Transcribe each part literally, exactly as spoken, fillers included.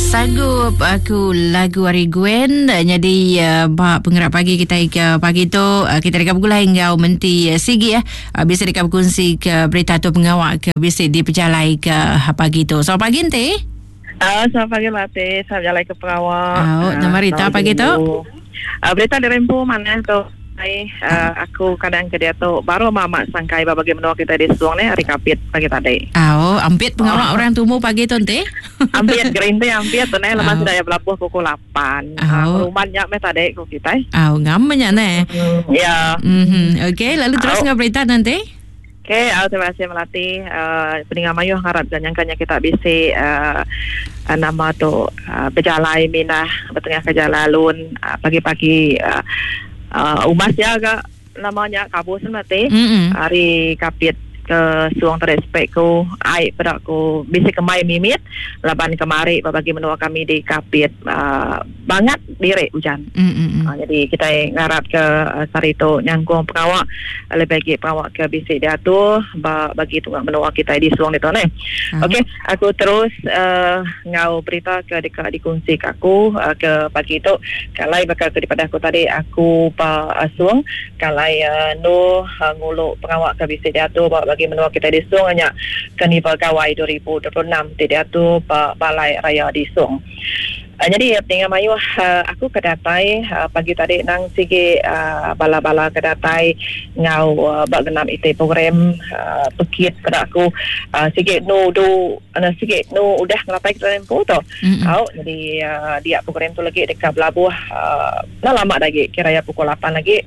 Sanggup aku lagu hari Gwen jadi uh, bak penggerak pagi kita ke pagi tu uh, kita dekat bergulai ngau menti uh, sigi ya uh, bisa dekat berkongsi ke berita tu pengawak ke bisa di pejalai ke pagi tu. Selamat pagi ente. Uh, selamat pagi Latih, selamat jalan ke pengawak. Oh, nama berita pagi tu? Uh, berita dari Rempu mana tu? Hai, uh, aku kadang ke dia tu baru mamak sangkai bagi menua kita di Suang ni hari kapit pagi tadi. Oh, ampit pengawak oh. Orang tumu pagi tu ente. Ampit gerinte ampit tu ne lepas oh. Sudah ya belabuh pukul lapan. Oh. Uh, rumah nyak meh tadi ku kita. Oh, ngam nya ne. Mm, ya. Mhm. Okey, lalu terus oh. Ngau berita nanti. Okey, uh, terima kasih Melati. Uh, peninggal mayuh harap dan nyangkanya kita bisa uh, nama tu uh, berjalai minah bertengah ke jalan alun uh, pagi-pagi uh, Uh, umas ya agak namanya kabus nanti mm-hmm. Hari kapit ke Suang terespek ku ai pada ku bisa kemai mimit laban kemari bagi menua kami di kapit uh, banget dire hujan. Mm-hmm. Uh, jadi kita ngarap ke uh, sari tu nyangkung pengawak lebih lagi pengawak ke bisa diatur bagi tunggak menua kita di Suang itu ne. Uh-huh. Okey, aku terus uh, ngau berita ke dekat dikongsi ke aku uh, ke pagi tu kalai bakal ke daripada aku tadi aku pa uh, Suang kalai uh, nu uh, nguluk pengawak ke bisa diatur bagi menua kita di Suang hanya Karnival Gawai dua ribu dua puluh enam tidak tu Balai Raya di Suang. Uh, jadi tinggal mayu uh, aku kedatai uh, pagi tadi nang sigi uh, bala-bala kedatai ngau uh, bak genam ite program uh, pekit pada aku uh, sigi nu du uh, sigi nu udah ngelapai ke tempo tu. Mm-hmm. Au jadi uh, dia program tu lagi dekat belabuh uh, dah lama lagi kira ya pukul lapan lagi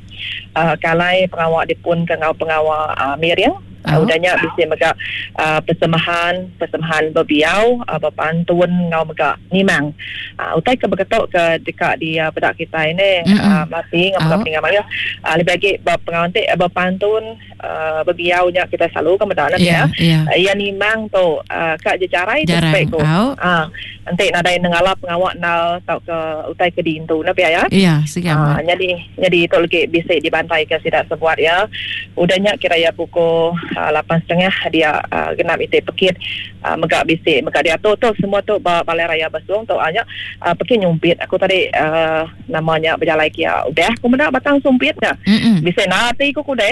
uh, kalai pengawak dipun ke ngau pengawak uh, miring. Oh. Uh, udahnya bisa mega uh, persembahan persembahan berbiau uh, berpantun ngau mega nimang uh, utai ke berketok ke dekat di uh, pedak kita ini mm-hmm. uh, mati ngau mega oh. peninggal maya uh, lebih lagi berpengawang te berpantun uh, berbiaunya kita selalu ke medak nanti yeah, ya yeah. Uh, ia nimang tu uh, kak jejarai tu spek ko oh. uh, nanti nadai nengala pengawak nal tau ke utai ke dintu na ya ya yeah, uh, jadi jadi itu lagi bisa dibantai ke sidak sebuat ya udahnya kira ya pukul lapan setengah dia uh, genap ite pekit uh, megak bisik megak dia tu tu semua tu Balai Raya Besung tu hanya uh, pekit nyumpit aku tadi uh, namanya berjalan kia udah aku mendak batang sumpit dah bisik nanti aku kude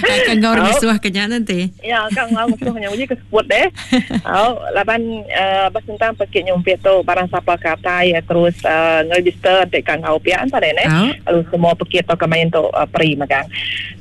akan kau orang suah kenya nanti ya kan ngau suah nya uji ke sebut deh au laban uh, bas tentang pekit nyumpit tu barang siapa katai ya, terus uh, ngeregister dek kan ngau pian tadi ne lalu semua pekit tu kemain tu uh, peri megang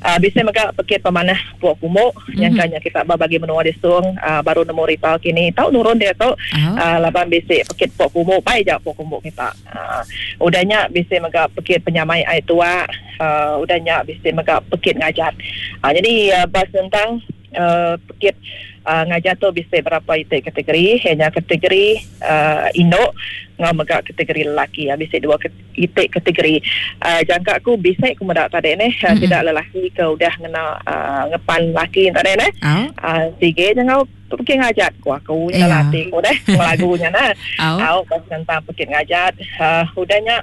uh, bisik megak pekit pemanah puak kumuk mm-hmm. yang kanya kita bagi menua di Suang uh, baru nemu rital kini tahu nurun dia tu oh. uh, laban bisik pekit puak kumuk baik jak puak kumuk kita uh, udahnya bisik megak pekit penyamai air tua uh, udahnya bisik megak pekit ngajat uh, jadi uh, bas tentang uh, pekit uh, ngajat tu bisik berapa itu kategori hanya kategori uh, induk ngau megak kategori lelaki ya bisik dua itik kategori uh, jangka aku bisik aku medak tadi ne uh, mm-hmm. tidak lelaki ke udah ngena uh, ngepan laki tadi ne oh. uh, sige ngau pergi ngajat ku aku yeah. latih ku deh lagunya nah oh. Au pas tentang pergi ngajat uh, udahnya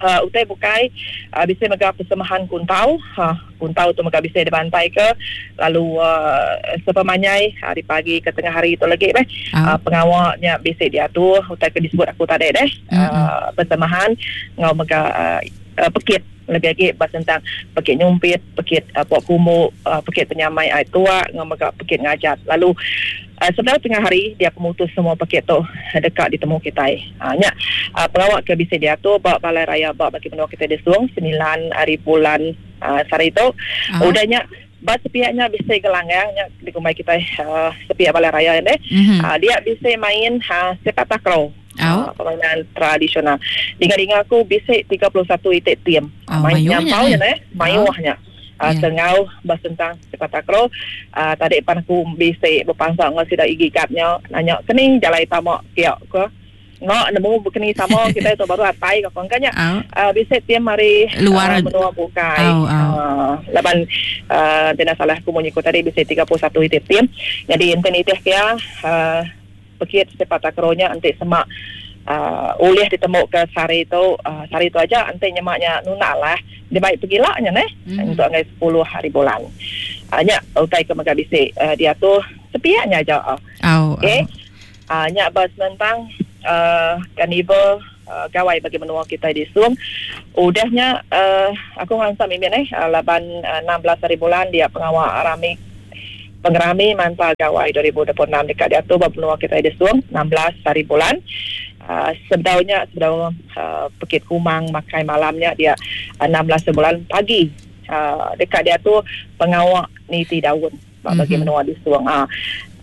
Uh, utai bukai uh, bisa megah persembahan kuntau uh, kuntau tu megah bisa dibantai ke lalu uh, sepemanyai hari pagi ke tengah hari itu lagi beh oh. uh, pengawaknya bisa diatur utai ke disebut aku tadi deh mm-hmm. uh, persembahan ngau megah uh, uh, pekit lebih lagi bahas tentang pekit nyumpit, pekit uh, puak kumuk, uh, pekit penyamai air tua, ngau megah pekit ngajat. Lalu uh, sebenarnya tengah hari dia pemutus semua pekit tu dekat ditemu kita. Ha nya uh, pengawak ke bisa diatur bak Balai Raya bak bagi menua kita di Suang sembilan hari bulan uh, sehari itu. Uh-huh. Udahnya bak sepiaknya bisa gelanggangnya di kumai kita uh, sepiak Balai Raya ni. Mm-hmm. Uh, dia bisa main uh, sepak takraw. Oh. Uh, permainan tradisional. Dengar-dengar aku bisik tiga puluh satu itik tim. Oh, main nyampau je eh, mayuhnya. Oh. Uh, Yeah. Tengau bas tentang sepak takraw. Uh, tadi pan aku bisik berpangsa ngau sida igi kapnya nanya kening jalai tamak kiak ke. Ngak nemu bekeni sama kita itu baru atai ke kongkanya. Oh. Uh, bisik tim mari luar uh, menua bukai. Oh, oh. Uh, laban uh, tidak salah aku menyikut tadi bisik tiga puluh satu itik tim. Jadi enten itih kia uh, pekit sepak takrownya nanti semak uh, oleh ditemu ke sehari itu uh, sehari itu aja nanti nyemaknya nuna lah dia baik pergilaknya neh mm-hmm. untuk ngai sepuluh hari bulan hanya uh, utai ke megah bisik uh, dia tu sepiaknya aja oh, okey oh. uh, nyak bas tentang uh, Karnival uh, Gawai bagi menua kita di Sung. Udahnya uh, aku ngansak mimin eh uh, laban uh, enam belas hari bulan dia pengawal rami pengerami Manta Gawai dua ribu dua puluh enam dekat diatur ba menua kita di Sung enam belas hari bulan. Uh, sebedaunya sebedau uh, Pekit Kumang makai malamnya dia uh, enam belas bulan pagi uh, dekat dia tu pengawak niti daun bagi mm-hmm. menua di Suang. Uh,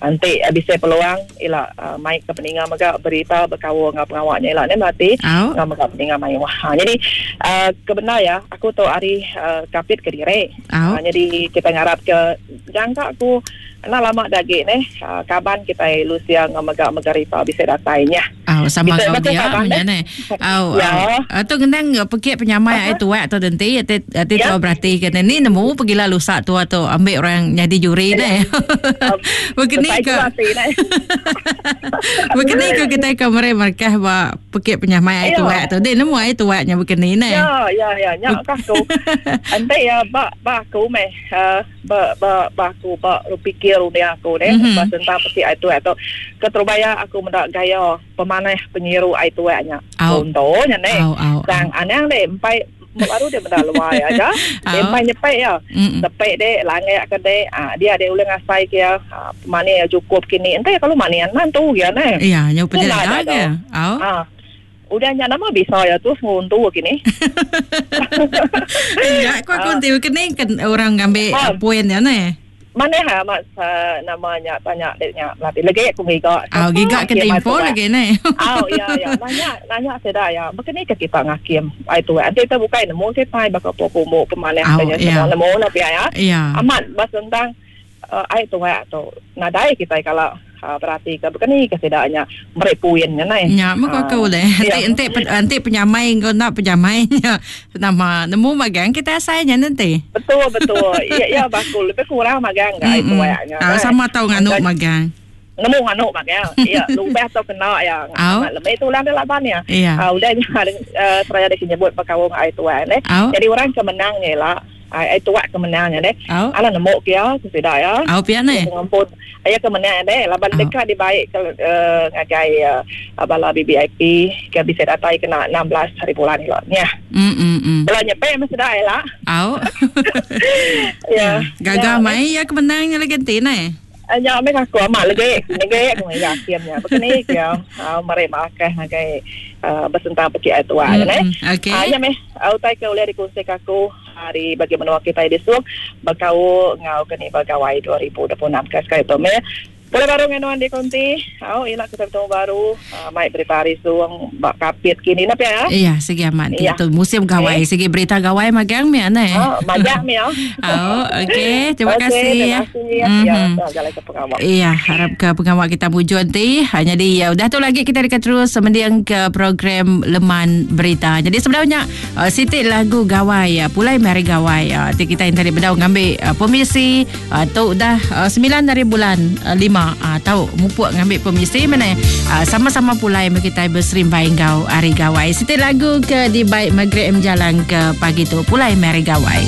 nanti uh, bisa peluang ila uh, mai ke peninga mega berita berkaul dengan pengawaknya ila ni mati oh. Ngau mega peninga mai wah. Ha, jadi uh, kebenar ya aku tu hari uh, kapit ke dire. Oh. Uh, jadi kita ngarap ke jangka aku nak lama dagi ni uh, kaban kita Lucia ngau mega mega ripa bisa datainya. Oh, sama kau dia punya ni. Oh, ya. Tu genang pekit penyamai ai tuak tu nanti ati ati tu berarti kan ni nemu pergilah lusak tua tu ambil orang jadi juri ni. Begini ke begini ke kita ke mere markah ba pekit penyamai ai tuak tu. Dia nemu ai tuaknya begini ni. Ya ya ya nyak kah aku. Ante ya ba ba aku meh ba ba ba aku ba pikir dunia aku ni mm-hmm. tentang pekit ai tuak tu. Keterubaya aku mendak gaya pemanah penyiru ai tuaknya. Contohnya ni. Sang anang deh empai baru dia benda luar aja. Dia empai nyepek ya. Tepek deh langit ke deh. Ah dia ada ulang asai ke ya. Mana cukup kini. Entah kalau manian mantu ya ne. Iya, nyau pejaga ke. Ah. Udah nya nama bisa ya tu nguntu kini. Enggak, kau kunti kini kan orang ngambil poin ya ne. Mana ha mak uh, namanya tanya deknya latih lagi aku giga. Oh giga ke info lagi ni. Oh ya ya nanya nanya seda ya. Begini ke kita ngakim ai tu. Nanti kita buka nemu kita bakal pokomo pemanah tanya semua nemu nak ya. Amat bas tentang uh, ai tu tu nadai kita kalau uh, berarti ke begini ke sedanya merepuin nya nai. Ya maka kau leh. Nanti nanti nanti penyamai kau nak penyamainya nama nemu magang kita asainya nanti. Betul betul. Ya ya bakul lebih kurang magang enggak itu ayaknya. Ah sama tahu nganuk magang. Nemu nganuk magang. Ya lubah tau kena ya. Lebih tulang dia laban ya. Ah udah uh, seraya dia nyebut perkawung ai tuan eh. Jadi orang kemenangnya lah. Ai tuak kemenangnya deh. Ala nemu kia sudah ya. Au pian ni. Pengampun. Aya kemenang deh laban dekat dibaik ke uh, ngagai uh, bala B B I P ke bisa datai kena enam belas hari bulan ni lah. Nya. Mm mm mm. Bala nyepe mesti dah lah. Au. Ya. Gagah mai ya kemenangnya lagi ganti ni. Anya mek aku amat lagi lagi aku yakinnya. Begini kia mari makan ngagai bersentang pekit ai tua ne. Okey. Anya meh utai ke oleh dikongsi aku hari bagi menua kita di Sung bakau ngau kini bagawai dua ribu dua puluh enam ke sekali tu meh. Boleh baru dengan di konti. Oh, ialah kita bertemu baru. Uh, mai berita hari Suang bak kapit kini napa ya? Iya, segi amat. Iya. Itu musim gawai, okay. Segi berita gawai magang mi ane. Oh, magang mi oh. Oh, okey. Terima okay, kasih terima kasih. Ya. Mm-hmm. Ya, jalan ke pengawal. Iya, harap ke pengawal kita mujur nanti. Hanya di ya udah tu lagi kita dekat terus mendiang ke program Leman Berita. Jadi sebenarnya uh, sitik lagu gawai ya, pulai mari gawai. Uh, kita yang tadi bedau ngambil uh, permisi uh, tu dah uh, sembilan dari bulan uh, lima. Ah, tahu mupuk ngambil permisi mana ah, sama-sama pulai kita berserimbai ngau hari gawai. Siti lagu ke di baik Maghrib M jalan ke pagi tu pulai mari gawai.